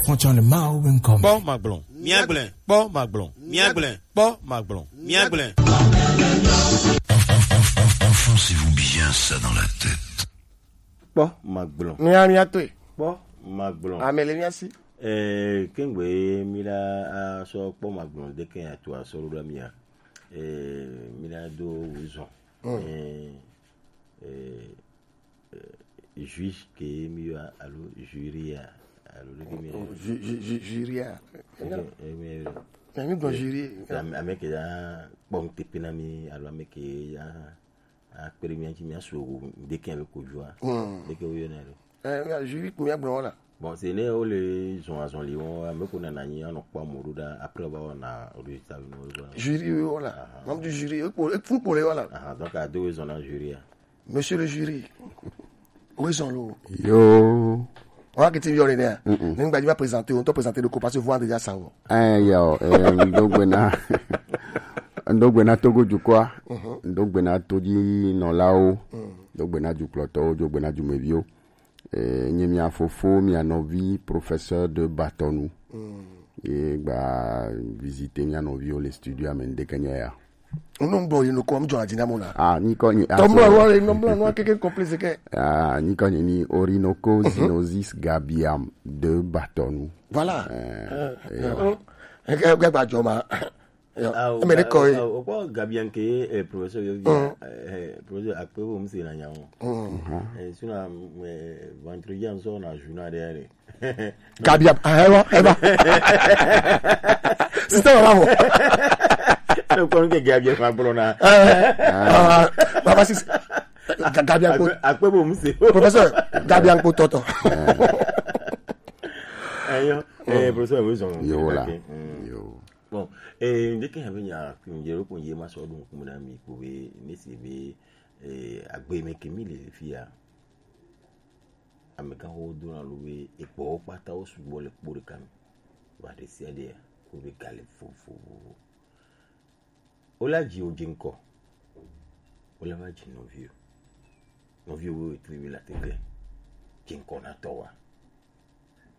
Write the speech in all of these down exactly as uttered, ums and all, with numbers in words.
Frontier le Mao Income. Kpɔ magblɔ, míagblẽ. Kpɔ magblɔ, míagblẽ. Kpɔ magblɔ, míagblẽ. Enfoncez-vous bien ça dans la tête. Kpɔ magblɔ. Mía, mía toe. Kpɔ magblɔ. Ame le mía si. Eh, kengbe mi la asɔ kpɔ magblɔ de ke ato asɔ ɖo mía. Eh, mi la do wuzɔn. Mm. Eh, eh, eh, juge ke mi yɔ alo jury ya, alo ɖe ke mi yɔ. Ju-, ju-, ju-, jury ya. Eke, eh, mi yɔ. Ya mi gbɔ jury. Ame, ame ke ya kpɔ ŋutepe na mi, alo ame ke ya akpe ɖe mía ŋuti, mía su ŋde ke alo kojoa. Mm. Ɖe ke wo yɔna ɖo. Eh, ya jury ko mía gbɔ wala. Bon, c'est ne wo le zɔn azɔn li wo, ame ko na na nyi anɔ kpɔ mo ɖo ɖa, après wo ba wɔna résultat no. Jury wo wala. Aha. Membre du jury, e ko, e fun ko le wala. Aha, donc a do zɔn na jury ya. Monsieur le jury, où est-ce lo? Yo. Wa kiti yɔ le ne. Mm-mm. Ni ngba di ma présenter, on to présenter le ko parce que vous déjà ça. Eh, yo, eh, ŋdo gbe na, ŋdo gbe na Togo dukɔa, ŋdo gbe na todzi nɔlawo, ŋdo gbe na dukplɔtɔwo, ŋdo gbe na dumeviwo. Eh, nye mia fofo, mia nɔvi, professeur de Batɔnu. Ye gba visiter mia nɔviwo le studio ame ŋdeke nye ya. Unu gbɔ yi nukɔ, mi jɔ adi na mo la. Ah, nyikɔ nye. Tɔmɔ wa le nɔmɔ nua keke complexe ke. Ah, nyikɔ nye ni Orinoco Zinosis Gabiam de Batɔnu. Voilà. Eh, eh, eh, eh, eh, gba jɔ ma. Yo, ah, eme ɖe kɔ ye. Ah, o kpɔ Gabian ke, eh, professeur yo, eh, professeur akpe bo mse na nya o. Eh, suna, eh, vendredi an so na journal de. Gabian, ah, ewa, ewa. Sister wa mo. No kon ke Gabian fa bro na. Eh, ah, baba sis. Ga-, Gabian ko. Akpe, akpe bo mse. Professeur, Gabian ko toto. Ayo, eh, professeur, oui, son. Yo, la. Ok, mm. Yo. Bon, eh, ŋde ke ya be nya, ŋde ro ko ye ma sɔ ɖo ŋkume na mi ko be, ne se be, eh, agbe me ke mi le fi ya. Amegãxoxo dona lo be egbɔwo kpata wo sugbɔ le kpo ɖeka me. Wa ɖe sia ɖe ko be ga le vovovo. Wo la dzi wo dzi ŋkɔ. Wo la va dzi nɔviwo. Nɔviwo wo tri mi la tete. Dzi ŋkɔ na tɔ wa.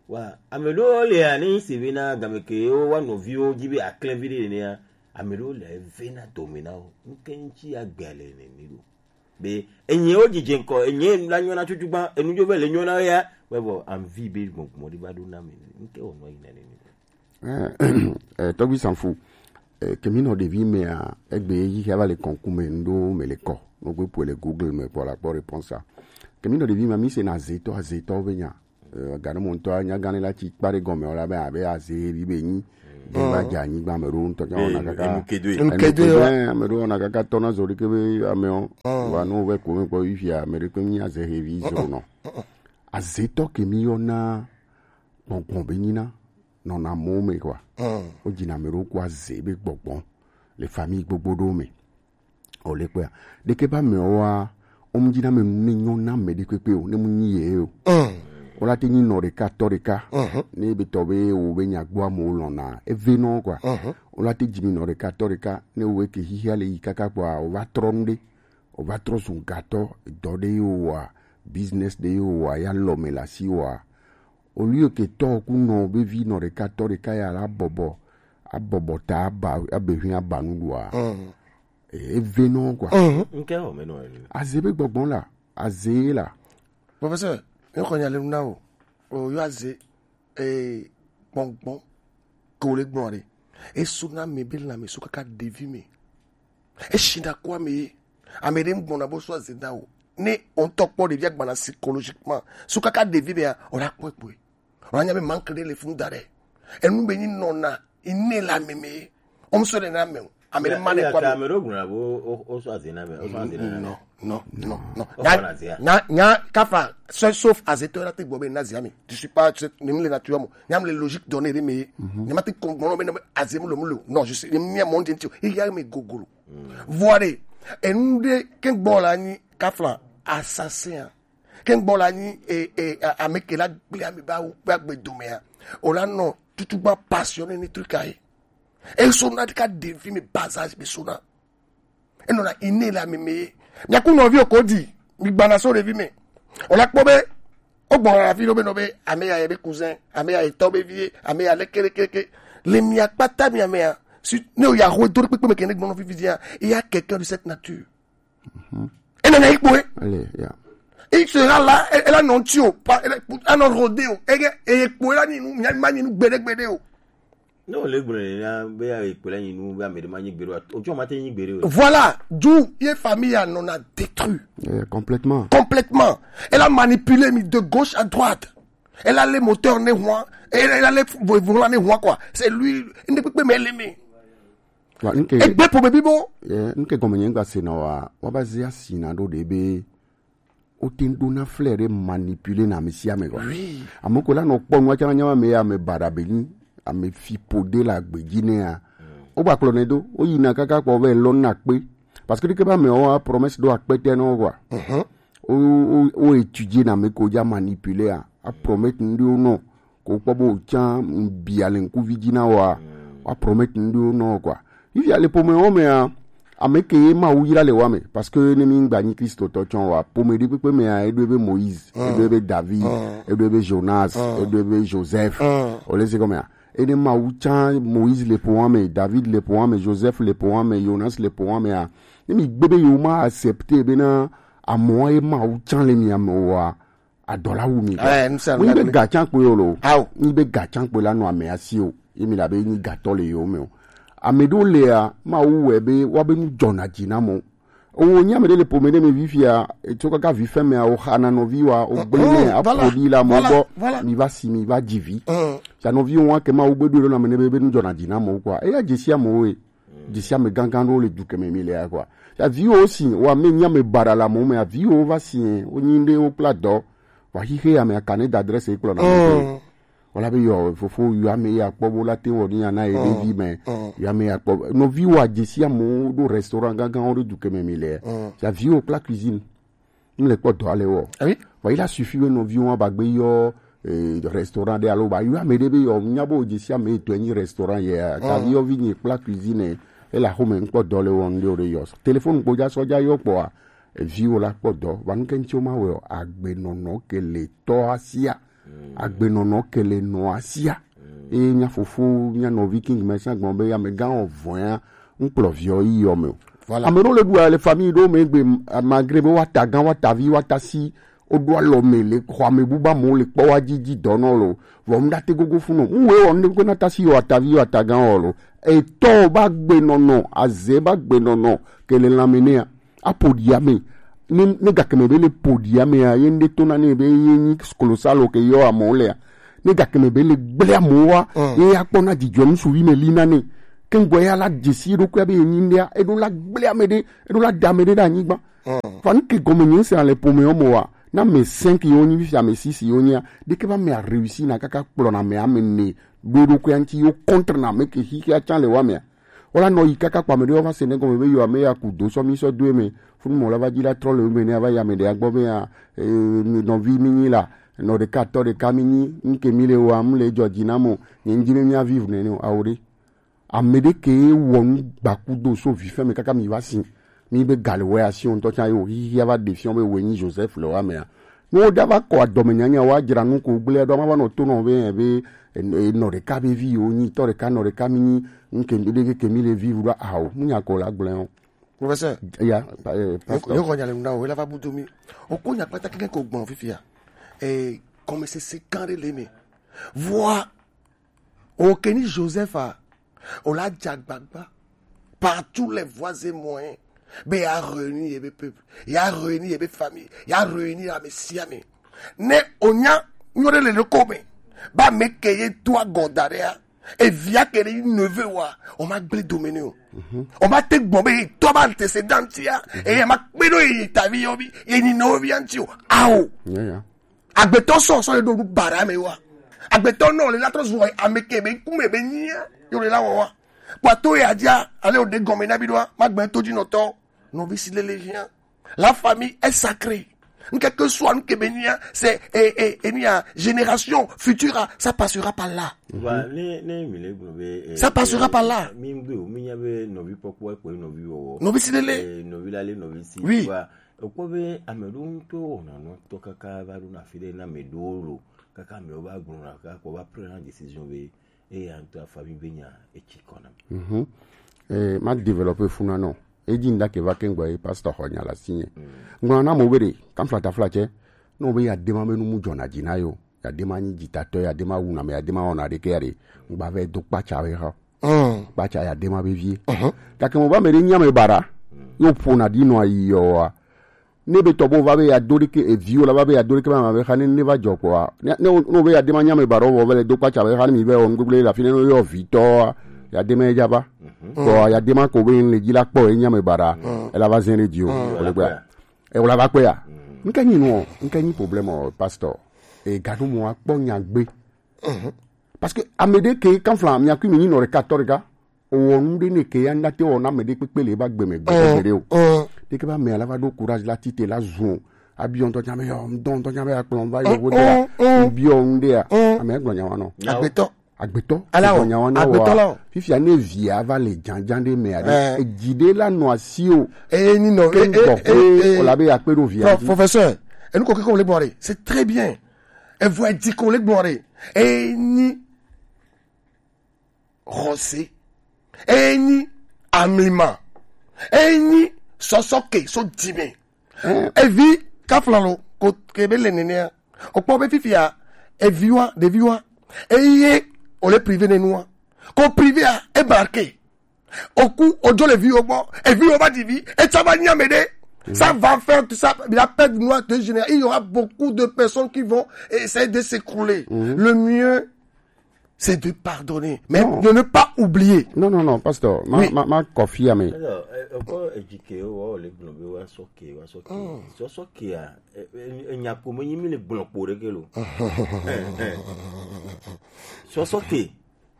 Wa, ame ɖewo lia, ne nyi se be na game ke wo wa nɔviwo dzi be aklɛvi ɖe nenea, ame ɖewo le eve na dome na wo. Ŋke ŋuti agbea le nene ɖo. Be, enyiwo dzidze ŋkɔ, enyi la nyɔ na tutu gba, enu dzo be le nyɔ na ya, wɛ bɔ, anvi be gbɔgbɔ ɖe va ɖo na me. Ŋke wɔ nɔ yi na nene. Eh, eh, Tɔgbi Sanfu, eh, ke mi nɔ ɖevi mea, egbe yi xia va le kɔnku me, ŋɖo me le kɔ. No gbe ƒo le Google me kpɔ la kpɔ réponse a. Ke mi nɔ ɖevi mea, mi se na azetɔ, azetɔ be nya. Eh, gane mo ŋutɔ nya gane la tsi kpa ɖe gɔme o la be abe aze vi be nyi. Be va dze anyigba me ɖo ŋutɔ nya wɔna kaka. Enu kedo ye. Enu kedo ye, ame ɖewo wɔna kaka tɔ na zɔ ɖeke be ame o. Wa no ve ko me kpɔ yi fia, ame ɖe kpe mi aze he vi zɔ nɔ. Azetɔ ke mi yɔ na gbɔgbɔ be nyi na. Nɔna mɔ me kɔa. Wo dzina ame ɖewo ku aze be gbɔgbɔ le famille gbogbo ɖewo me. O le kpea. Ɖeke ba me wa, o mu dzina me ne nyɔ na me ɖe kpekpe o, ne mu nyi ye o. O la te nyi nɔ ɖeka tɔ ɖeka. Ne be tɔ be o be nya gbɔ amewo lɔna, eve nɔ kɔa. O la te dzi mi nɔ ɖeka tɔ ɖeka, ne o ke xixia le yi kaka kpɔa, o va trɔ nu ɖe. O va trɔ zu gatɔ, dɔ ɖe ye o wa, business ɖe ye o wa, ya lɔ me la si wa. Au lieu que tɔ ku nɔ be vi nɔ ɖeka tɔ ɖeka ya la bɔbɔ, abɔbɔ ta aba, abe hui aba nu ɖua. Eve nɔ kɔa. Ŋke o me nɔ enu. Aze be gbɔgbɔ la, aze la. Professeur, ne xɔ nya le nu na o. O yɔ aze, eh, gbɔgbɔ. Ke o le gbɔ ɖe. Esu na me be la me su kaka ɖevi me. Eshi na kɔ ame ye. Ame ɖe ŋgbɔna bo sɔ aze da o. Ne o ŋutɔ kpɔ ɖevia gbana psychologiquement, su kaka ɖevi bea, o la kpɔe kpɔe. O la nya be manque ɖe le funu da ɖe. Enu be nyi nɔna, ine le ame me ye. O mu sɔ ɖe na ame o. Ame ɖe ma ne kɔ ame. Ame ɖewo gblɔna be o, o, o sɔ aze na ame, o sɔ aze na ame. Non, non, non, non. Nya, nya, nya, kafa, sauf, sauf azetɔ la te gbɔ be na aze ame. Je suis pas, ne mi le nature mo. Nya mi le logique donné ɖe me ye. Ne ma te kɔ gbɔnɔ be na aze mu lo mu lo. Non, je suis, ne mi a monde entier. Il y a mes gogolo. Vɔa ɖe, enu ɖe ke gbɔ la nyi kafla assassin a. Ke gbɔ la nyi, e, e, a-, ame ke la gble ame ba wo kpe agbe dome a. O la nɔ tutu gba passionné ni truc a ye. E so na ka ɖevi me bas âge be so na. E nɔ na inné le ame me ye. Mia ku nɔvi o ko di, mi gbana so ɖevi me. O la kpɔ be, O gbɔna la fi ɖo be nɔ be ame ya ye be cousin, ame ya ye tɔ be vie, ame ya leke leke leke. Le mia kpata mia mea, si ne o ya ho do kpekpe me kene gbɔnɔ fifi dia, il y a quelqu'un de cette nature. Ene na ikpo e. Allez, yeah. Il sera là, elle, elle a non tio, pas, elle a non rodeo. Et, et, et pour la ni nous, il y a mani nous gbede gbede o. Non, le gblɔ na be ya ekpe la nyi nu be ame ɖe ma nyi gbeɖe o. Otsɔ ma te nyi gbeɖe o. Voilà, d'où ye famille en en a détruit. Yeah, complètement. Complètement. Elle a manipulé mi de gauche à droite. Elle a les moteurs ne hwa. Elle, elle a les volant ne hwa quoi. C'est lui. Ne peut pas me l'aimer. Wa nke. Egbe pour bébé bon. Yeah, nke gɔme nye ngba se na wa. Wa ba zia si na do de be. O te ŋ ɖona flɛ ɖe manipuler na ame sia ame gɔ̃. Oui. Ame ko la nɔ kpɔ nua tsã nya ame ya ame baɖa be nyi, ame fi po de la gbe dzi nea. O gba kplɔ ne do, o yina kaka kpɔ be lɔ na kpe. Parce que ɖeke ba me o promesse do akpete no quoi. Mhm. O o o étudier na me ko ja manipuler a. A promettre ndi o no. Ko kpɔ bo tsã bia le ŋkuvi dzi na wa. Wa promettre ndi o no quoi. Fifia le pome o mea, ame ke ye Mawu yra le wa me, parce que ne mi gba nyi Kristo tɔ tsɔ wa, pome ɖe kpekpe mea, eɖo ebe Moïse, eɖo ebe David, eɖo ebe Jonas, eɖo ebe Joseph. O le se gɔmea. Ene Mawu tsã Moïse le po wa me, David le po wa me, Joseph le po wa me, Jonas le po wa mea. Ne mi gbe be yo ma accepter be na amoa ye Mawu tsã le mi ame wa. Adɔla wu mi. Eh, ŋusẽ. Wo nyi be ga tsã kpoe o lo. Ao. Nyi be ga tsã kpoe la nɔ ame asi o. Ye mi la be nyi gatɔ le yewo me o. Ame ɖewo lea, Mawu wɔe be woabe nu dzɔna dzi na amewo. Owo nyi ame ɖe le pome ɖe me vi fia, etso kaka vi fɛn mea, o xa na nɔvi wa, o gblẽ nɛ, aƒo ɖi le amewo gbɔ, mi va si, mi va dzi vi. Sia nɔvi wa ke Mawu gbe ɖo ɖo na ame ne be, be nu dzɔna dzi na amewo kɔa, eya dzesi amewo ye. Dzesi ame gãgã ɖewo le du keme mi le ya kɔa. Ya viwo si, wa me nya me baɖa le amewo me, ya viwo va si, wo nyi ɖe wo kpla dɔ. Wa xixe ya me aka ne da adresse kplɔ na me. Wala be yɔ fofo yɔ ame ya kpɔ bo la te wɔ ni ya na ye ɖevi me. Yɔ ame ya kpɔ. Nɔvi wa dzesi amewo ɖo restaurant gãgãwo ɖe du keme mi le. Ya viwo kpla cuisine. M le kpɔ dɔ ale wɔ. Ah oui? Vɔ, il a suffi be nɔviwo wa ba gbe yɔ, eh, restaurant ɖe alo ba yɔ ame ɖe be yɔ, nya bo dzesi ame etɔ̃ nyi restaurant ye. Kavi yɔ vi nyi kpla cuisine. Ele axome ŋkpɔ dɔ le wɔ ŋɖewo ɖe yɔ. Téléphone kpo ja sɔ ja yɔ kpɔa, eviwo la kpɔ dɔ. Va nu ke ŋuti wo ma wɔ o, agbenɔnɔ ke le tɔ asia. Agbenɔnɔ ke le nɔ asia. Eye mia fofo, mia nɔvi King Messiah gblɔ be amegã wɔ vɔ̃ ya, ŋkplɔ viɔ yi yɔ me o. Voilà. Ame ɖewo le ɖua le famille ɖewo me gbe, malgré be woata gã, woata vi, woata si, woɖo alɔ me le xɔ ame buba mo le kpɔ wa dzi dzi dɔ nɔ lo. Vɔ mu ɖate gogo fu nɔ. Mu wɔ ne ko na ta si yɔ ata vi yɔ ata gã wɔ lo. Etɔ ba gbe nɔnɔ, aze ba gbe nɔnɔ, ke le lãme nea. Aƒo ɖi ame. Ne, ne gakeme be le ƒo ɖi amea, ye ŋɖe to na ne be ye nyi kolosalo ke yɔ amewo lea. Ne gakeme be le gblẽ amewo wa, ye ya kpɔ na dzidzɔ ŋsuvi me li na ne. Ke ŋgɔ ya la dzesi eɖokui be ye nyi ŋɖea, eɖo la gblẽ ame ɖe, eɖo la da ame ɖe ɖe anyigba. Fa nu ke gɔme nye se le pome wo mo wa, na me cinq yo nyi fifia me six yo nyia, ɖeke ba me a réussi na kaka kplɔ na me ame ne, ɖo eɖokui ŋuti yo contre na me ke xixia tsã le wa mea. Wola nɔ yi kaka kpɔ ame ɖewo va se ne gɔme be yewo ame ya ku do sɔ mi sɔ do eme. Funu mɔ la va dzi la trɔ le eme ne ava yi ame ɖe agbɔ be ya, eh, mi nɔvi mi nyi la, nɔ ɖeka tɔ ɖeka mi nyi, ŋke mi le wa, mu le dzɔ dzi na mo, nye ŋdzi be mi a vivre nene o, awo ɖe. Ame ɖe ke wɔ nu gbaku do so vi fɛn me kaka mi va si. Mi be gale wɛ asi o ŋutɔ tsã ye o, hihi ava ɖe fiɔ be wɛ nyi Joseph le wa mea. Ne woɖa va kɔ adɔmenyanya wa dzra nu ko gblẽ ɖo, ma va nɔ to nɔ be, be, e, e, nɔ ɖeka be vi yewo nyi, tɔ ɖeka, nɔ ɖeka mi nyi, ŋke mi ɖe ke mi le vi ɖo, ao, nu nya ko la gblẽ o. Professeur, ya, eh, pasteur. Yo ko nya le ŋda o, la va butu mi. O ko nya kpata keke ko gbɔn fifia. Eh, comme c'est, c'est quand le me. Voix. O ke ni Joseph a, o la dze agbagba par tous les voies et moyens be ya réunir ye be peuple, ya réunir ye be famille, ya réunir ame sia ame. Ne o nya nyɔ ɖe le ɖoko me, ba me ke ye to agɔ da ɖea, evia ke ɖe neveu wa, o ma gblẽ dome ne o. O ma te gbɔn be ye tɔ ba antécédent ya, e ye ma kpe ɖo ye tavi yɔ bi, ye nyi nɔvi ya ŋuti o. Ao. Yeah, yeah. Agbetɔ sɔ sɔ le ɖo nu bara me wa. Agbetɔ nɔ le la trɔ zɔ ame ke be kume be nyia yo le la wɔ wa. Kpato ya dia ale o de gɔme na bi ɖoa, ma gbɛ to dzi nɔtɔ. Nɔvi si lele hia. La famille est sacrée. Nke ke soit nke be nyia, c'est, eh, eh, eh, nia, génération future, ah, ça passera par là. Wa, ne, ne, mi le gblɔ be, eh, ça passera eh, par là. Mi ŋgbe o, mi nya be nɔvi kpɔkpɔ ekpɔ nɔvi wɔwɔ. Nɔvi si lele. Eh, nɔvi la le nɔvi si. Oui. Wa, Wokpɔ be ame ɖewo ŋutɔ wɔna nɔ tɔ kaka va ɖo na afi ɖe na ame ɖewo lo, kaka amewo va gblɔna kaka kɔ va prena decision be eya ŋutɔ afa mi be nya etsi kɔ na mi. Mhm. Eh, ma développer funa nɔ. Edi nda ke va ke ngba e pastor xɔ nya la sinye. Ngba na mo be de, kam flata flatse. No be ya dema be nu mu jɔna dzi na yo. Ya dema nyi dzitatɔ, ya dema wuna me, ya dema wɔna ɖeke ya de. Ngba ve do kpatsa we ha. Mm. Kpatsa ya dema be vie. Mhm. Gake mo va me de nya me bara. Yo ƒona ɖi nɔ ayi yɔa. Ne be tɔ bo va be ya do ɖeke eviwo la va be ya do ɖeke ma be xa ne ne va jɔ kpɔa. Ne ne wo- ne wo be ya de ma nya me ba ɖo vɔ be le do kpatsa be xa ne mi be wɔnu gbegble la fi ne no yɔ vitɔ ya de ma edza va. Kpɔ ya de ma ko be le dzi la kpɔ e nya me ba ɖa. E la va zɛn ɖe dzi o. O le gbɛ. E wo la va kpɛ ya. Nke nyi no, nke nyi problème o pastor. E ganu mo akpɔ nya gbe. Parce que ame ɖe ke kan fla mi akui mi nyi nɔ ɖeka tɔ ɖeka. Owɔ nu ɖe ne ke ya na te wɔ na ame ɖe kpekpe le ba gbeme gbegbe ɖe o. Ɖe ke ba me ala va ɖo courage la tite la zun. Abiɔ ŋutɔ nya be yɔ ŋdɔ ŋutɔ nya be akplɔ va yɔ vo de la. Biɔ nu ɖe ya. Ame gblɔ nya wa nɔ. Agbetɔ. Agbetɔ. Ala o. Gblɔ nya wa nɔ agbetɔ wa la o. Fifia ne via va le janjan ɖe me aɖe. Edzi ɖe la nɔ asi o. Eye ni nɔ. Ke gbɔ ko o la be ya kpe ɖo via dzi. Professeur, enu ko keko le gbɔ ɖe, c'est très bien. Evo edzi ko le gbɔ ɖe. Eye ni xɔse, enyi amlima, enyi sɔsɔke so dzime. Evi kaflalo ko ke be le nenea. Okpɔ be fifia eviwa ɖeviwa eye ole privé nenua ko privé a ebarke. Oku ojo le viwo gbɔ, eviwo va ɖi vi, etsa va nya me ɖe. Ça va faire tout ça, il a perdu noir de génération. Il y aura beaucoup de personnes qui vont essayer de s'écrouler. Le mieux, c'est de pardonner, mais de ne pas oublier. Non, non, non, pasteur, ma, ma, ma kɔfi ame. Alors, euh, encore éduqué, oh, les blondes, ouais, soké, ouais, soké. So soké, ah, eh, eh, eh, nya ko me yimi le blonde pour le kelo. Eh, eh. So soké.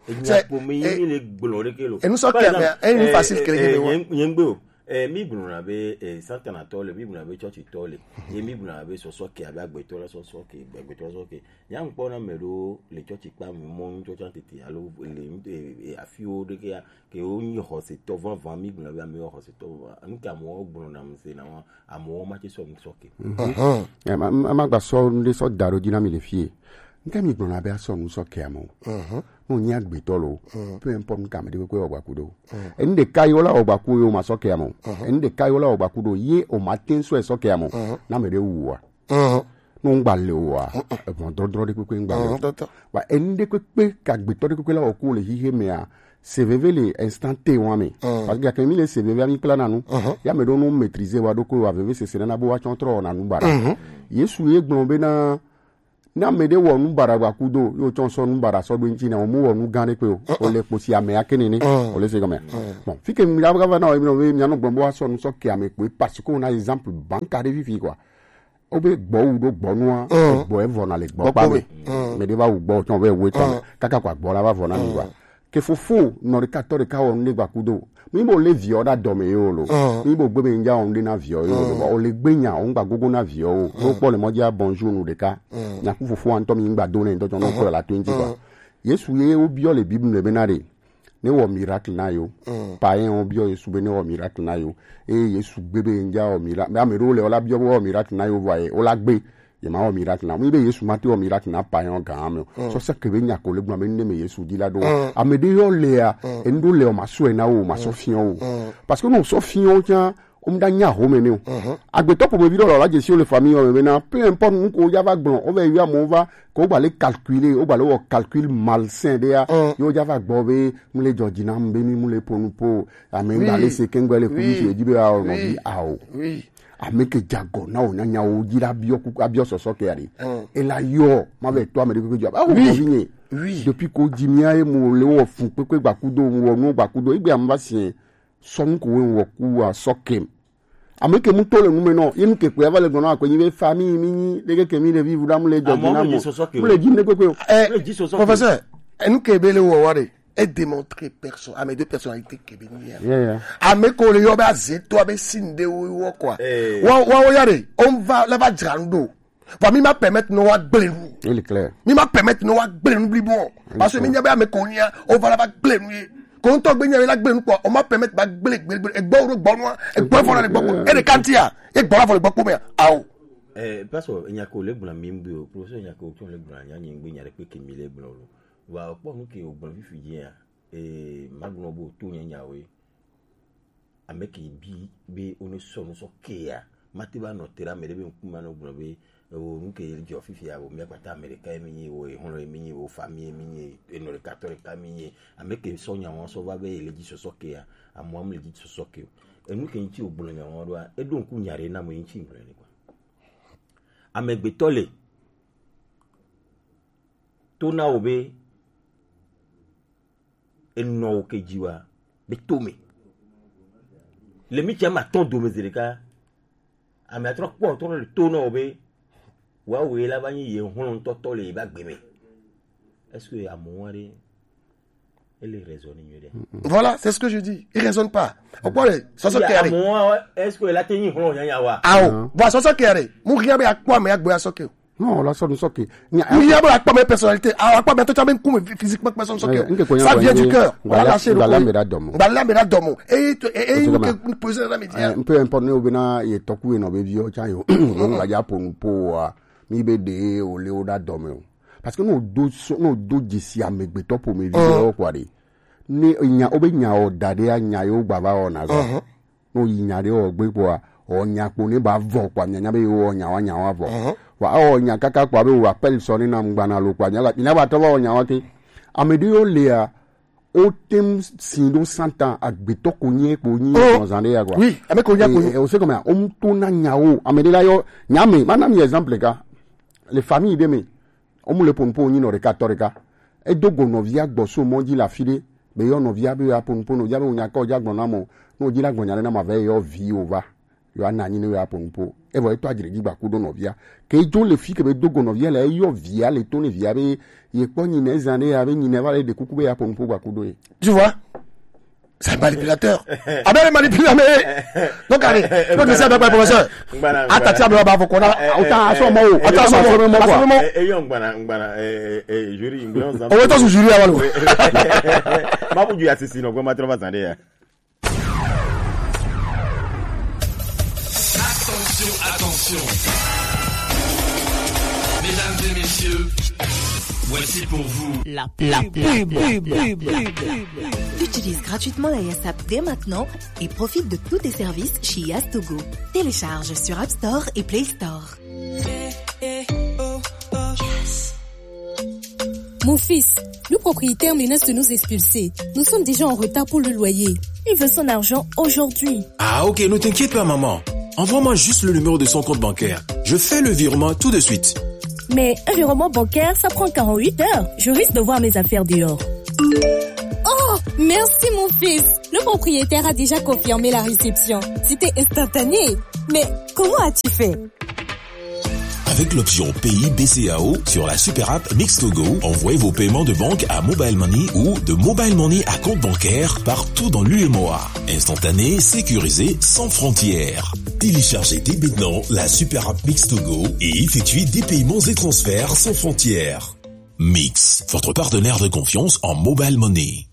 Nya ko me yimi le blonde kelo. Et nous sommes clairs, mais, eh, facile que le kelo. Yengbe o. Eh, mi gblɔna be, eh, Satanatɔ le, mi gblɔna be tsɔtsitɔ le, ye mi gblɔna be sɔsɔ ke abe agbetɔ la sɔsɔ ke, agbetɔ la sɔsɔ ke. Nya ŋkpɔ na me ɖo le tsɔtsi kpa me mɔ nu tsɔtsi tete alo le, eh, eh, afiwo ɖe ke ya, ke wo nyi xɔsetɔ vavã, mi gblɔna be ame xɔsetɔ vavã. Nu ke amewo gblɔna mu se na wa, amewo ma tse sɔ nu sɔ ke. Mhm. Eh, ma, ma, ma gba sɔ nu ɖe sɔ da ɖo dzi na mi le fie. Nke mi gblɔna be asɔ nu sɔ ke ame o. Mhm. No nyi agbetɔ lo. Mhm. Peu importe nu ke ame ɖe kpekpe wɔ gbaku ɖo. Enu ɖeka yi wo la wɔ gbaku yo ma sɔ ke ame o. Enu ɖeka yi wo la wɔ gbaku ɖo ye o ma te sɔ sɔ ke ame o. Na me ɖe wu wa. No ŋgba le o wa. Evɔn drɔdrɔ ɖe kpekpe ŋgba le o. Wa enu ɖe kpekpe ka gbetɔ ɖe kpekpe la wɔ ku le hihe mea, se veve le instant T wa me. Parce que gake mi le se veve mi kpla na nu. Ya me ɖo nu maîtriser wa ɖo ko wa veve sese na bo wa tsɔ trɔ na nu bara. Yesu ye gblɔ be na Ne ame ɖe wɔ nu baɖa gbakudo, yo tsɔ sɔ nu baɖa sɔ ɖo ŋuti na, o mu wɔ nu gã ɖe kpe o. O le kposi ame ake nene. O le se gɔme. Bon, fi ke mi ɖa va na o mi no mi anɔ gblɔ bo asɔ nu sɔ ke ame kpe parce que on a exemple banka ɖe fifi quoi. O be gbɔ wu ɖo gbɔ nua, gbɔ evɔ na le gbɔ kpa me. Me ɖe va wu gbɔ tsɔ ve wu etɔ me. Kaka kwa gbɔ la va vɔ na mi wa. Ke fofo nɔ ɖeka tɔ ɖeka wɔ nu ɖe gbakudo. Mi bo le viɔ ɖa dɔme yo lo. Mi bo gbe be ŋdza wɔ nu ɖe na viɔ yo lo. O le gbe nya, o ŋgba gogo na viɔ o. Wo kpɔ le mɔ dzi a bonjour nu ɖeka. Nya ku fofo wa ŋtɔ mi ŋgba do ne ŋtɔ tsɔ nɔ kpɔ la to ŋti kwa. Yesu ye wo biɔ le Bible me be na ɖe. Ne wɔ miracle na yo. Païen wo biɔ Yesu be ne wɔ miracle na yo. Eye Yesu gbe be ŋdza wɔ miracle. Ame ɖewo le o la biɔ be wɔ miracle na yo vɔ ye. O la gbe. Ye ma wɔ miracle na. Mi be Yesu ma te wɔ miracle na païen gã me. So se ke be nya ko le gblɔ me ne me Yesu di la do. Ame ɖe yɔ le ya, enu ɖo le o ma sɔ na o, ma sɔ fiɔ o. Parce que no sɔ fiɔ o tsa, o mu da nya ho me ne o. Agbetɔ po me bi ɖo la je si o le famille o me na, peu importe nu ko ya va gblɔ, o ve ya mo va, ko gba le calculer, o gba le wɔ calcul malsain ɖe ya. Yo ya va gbɔ be mu le jɔ dzi na be mi mu le ponu po. Ame ŋgba le se ke ŋgba le ku mi si edzi be a o nɔ bi a o. Ame ke dze agɔ na wò nyanyawo dzi la biɔ kuku, abiɔ sɔsɔ ke aɖe. Ela yɔ, ma vɛ tɔ ame ɖe kpekpe dzi. Awo nɔvi nye. Depuis ko dzi mia ye mo le wɔ fu kpekpe gbakudo, mo wɔ nu gbakudo. Egbe ame va siɛ, sɔ nu ko wo wɔ ku wa sɔ kem. Ame ke mu to le nu me nɔ, ye nu ke kpe va le gblɔ na akɔ nyi be famille mi nyi, ɖe ke ke mi le vivu ɖa mu le jɔ dzi na mo. Mu le dzi ne kpekpe o. Eh, professeur, enu ke be le wɔ wa ɖe. E démontre personne, ame de personnalité ke be ni ya. Ame ko le yɔ be aze to abe sin de wo wo quoi. Wa wa wo ya de, on va la va dzra nu do. Wa mi ma permettre no wa gble nu. Il est clair. Mi ma permettre no wa gble nu blibo. Parce que mi nya be ame ko nya, o va la va gble nu ye. Ko ŋutɔ gbe nya mi la gble nu kpɔ, o ma permettre ba gble, gble, gble, egbɔ wo ɖo gbɔ nua, egbɔ fɔ na le gbɔ kpɔ. E ɖeka ŋutia, ye gbɔ la fɔ le gbɔ kpɔ mea. Ao. Eh, pastor, enya ko le gbla mi ŋgbe o, professeur, enya ko tso le gbla nya nyi ŋgbe nya ɖe kpe ke mi le gbla o lo. Wa kpɔ nu ke o gbla fifi dzi ya. Eh, ma gbla bo to nya nya we. Ame ke bi be o ne sɔ nu sɔ ke ya. Ma te ba nɔ te ɖe ame ɖe be ŋkume nɔ gbla be, o nu ke dzɔ fifi ya, o mia kpata ame ɖeka ye mi nyi, o ehɔn ye mi nyi, o famille ye mi nyi, enɔ ɖeka tɔ ɖeka mi nyi. Ame ke sɔ nya wɔn sɔ va be le dzi sɔsɔ ke ya. Amu amu le dzi sɔsɔ ke o. Enu ke ŋuti o gbla nya wɔn ɖoa, e ɖo ŋku nya ɖe na mo ŋuti gbla ne kwa. Amegbetɔ le to na wo be enɔ wo ke dzi wa be to me. Le mi tsia ma tɔn dome zi ɖeka, ame atrɔ kpɔ trɔ le to na wo be wa wo la va nyi ye hlɔn tɔtɔ le ba gbe me. Est-ce que amewo aɖe ele raisonner nyuie ɖe? Voilà, c'est ce que je dis. Il raisonne pas. O kpɔ le sɔsɔ ke are. Amewo, est-ce que la te nyi hlɔn nyanya wa? Awo. Bon, sɔsɔ ke are. Mu rien be akpɔ ame agbo ya sɔ ke. Non, la sɔ nu sɔ ke. Mu rien be akpɔ ame personnalité. Awo akpɔ ame to tsa me nkume physiquement personne sɔ ke. Ça vient du cœur. Voilà, lâchez le. Ngala me da dɔmo. Ngala me da dɔmo. Et et et que poser la média. Un peu important, ou bien ye toku e no be vi o tsa yo. Ngala ja ponu po wa. Mi be de o le o da dɔmo. Parce que no do so, no do dzesi amegbetɔ ƒomevi ɖewo kɔ ɖe. Ne nya, wobe nya wɔ da ɖea, nya yewo gba va wɔna zɔ. Ne woyi nya ɖe wɔ gbe kpɔa, wɔ nya kpo ne ba vɔ kpɔa, mianya be yewo wɔ nya wa, nya wa vɔ. Wa awɔ nya kaka kpɔa be wo appel sɔ ne na ŋgbana lo kpɔa, mianya ba, mianya ba tɔ va wɔ nya wa ke. Ame ɖewo lia, wote ŋu si ɖo santa agbetɔ ko nye kpo nyi nɔ zan ɖe ya kpɔa. Oui, ame ko nya ko nyi. Eh, eh, o se kɔmɛ, o mu to na nyawo, ame ɖe la yɔ, nya me, ma na mi exemple ka. Le famille ɖe me, Womu le ƒo nu ƒo wonyi nɔ ɖeka tɔ ɖeka. Edo go nɔvia gbɔ so mɔ dzi le afi ɖe. Be yɔ nɔvia be yewoaƒo nu ƒo, nɔvia be wònya kɔ dzi agblɔ na mɔ. Ne wòdzi la gblɔ nya ɖe na ma vɛ yɔ vi wòva. Yewoana anyi ne yewoaƒo nu ƒo. Evɔ etɔ adzre dzi gbaku ɖo nɔvia. Ke edzo le fi ke be do go nɔvia le eyɔ via le to ne via be yekpɔ nyinɛ zã ɖe ya be nyinɛ va le ɖe kuku be yeaƒo nu ƒo gbaku ɖo ye. Tu vois? C'est un manipulateur. Ah ben, il manipule, mais. Donc, allez, donc, c'est un professeur. Attends, tiens, mais on va vous connaître. Attends, à ce moment, attends, à ce moment. Eh, eh, yo, ngbana, ngbana, eh, eh, eh, jury, ngbana, on va. On va tous jury avant nous. Ma bu ju asisi, non, vraiment, trop va s'en aller. Attention, attention. Mesdames et messieurs, voici pour vous la pub. La pub. Utilise gratuitement la Yasap dès maintenant et profite de tous tes services chez Yas Togo. Télécharge sur App Store et Play Store. Mon fils, le propriétaire menace de nous expulser. Nous sommes déjà en retard pour le loyer. Il veut son argent aujourd'hui. Ah, ok, ne t'inquiète pas, maman. Envoie-moi juste le numéro de son compte bancaire. Je fais le virement tout de suite. Mais un virement bancaire, ça prend quarante-huit heures. Je risque de voir mes affaires dehors. Oh, merci, mon fils. Le propriétaire a déjà confirmé la réception. C'était instantané. Mais comment as-tu fait ? Avec l'option Pay B C A O sur la super app Mix Togo, envoyez vos paiements de banque à Mobile Money ou de Mobile Money à compte bancaire partout dans l'U M O A. Instantané, sécurisé, sans frontières. Téléchargez dès maintenant la super app Mix Togo et effectuez des paiements et transferts sans frontières. Mix, votre partenaire de confiance en Mobile Money.